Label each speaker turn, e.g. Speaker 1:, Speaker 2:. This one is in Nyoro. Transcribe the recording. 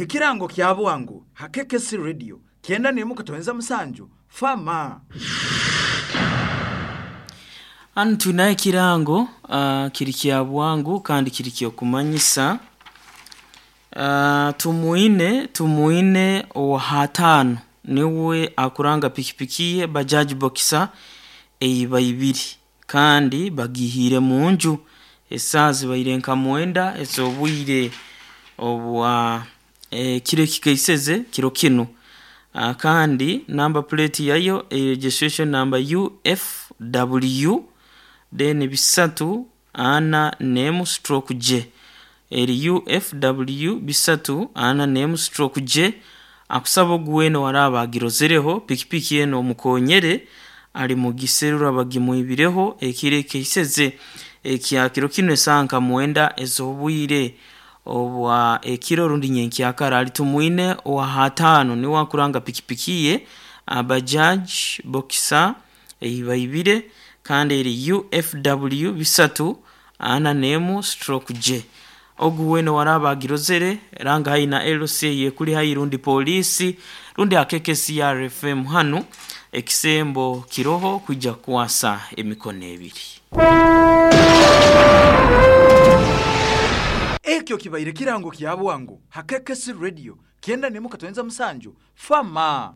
Speaker 1: Ekirango kya bwangu ha KKC Radio 91.7 Fama.
Speaker 2: Hanu twinaho ekirango kiri kya bwangu kandi kiri ky'okumanyisa. Tumwine owa hataano niwe akuranga pikipiki ye Bajaj Boxer eiba ibiri kandi bagihiire munju esaaha zibaire nka 9 ez'obwire obwa ekiro ekikaiseze kiro kinu. Kandi number plate yayo registration number UFW then 341 stroke J, eri UFW 341 stroke J. Akusaba ogu weena owaraaba agirozereho pikipiki enu omukonyere ali mugiserura bagimwibireho ekiro ekikaiseze ekya kiro kinu esaaha nka 9 ez'obwire obwa ekiro rundi nyenkyakara. Ali Tumwine owa hataano niwe akuranga pikipiki ye Bajaj Boxer eibaibire kandi eri UFW 341 stroke J. Ogu weena owaraaba agirozere ranga haihi na LC eyekuli haihi rundi poliisi rundi ha KKCR FM hanu ekisembo kiroho kwija kukwasa emikono ebiri.
Speaker 1: Ekyo kibaire kirango kya bwangu ha KKC Radio 91.7 Fama.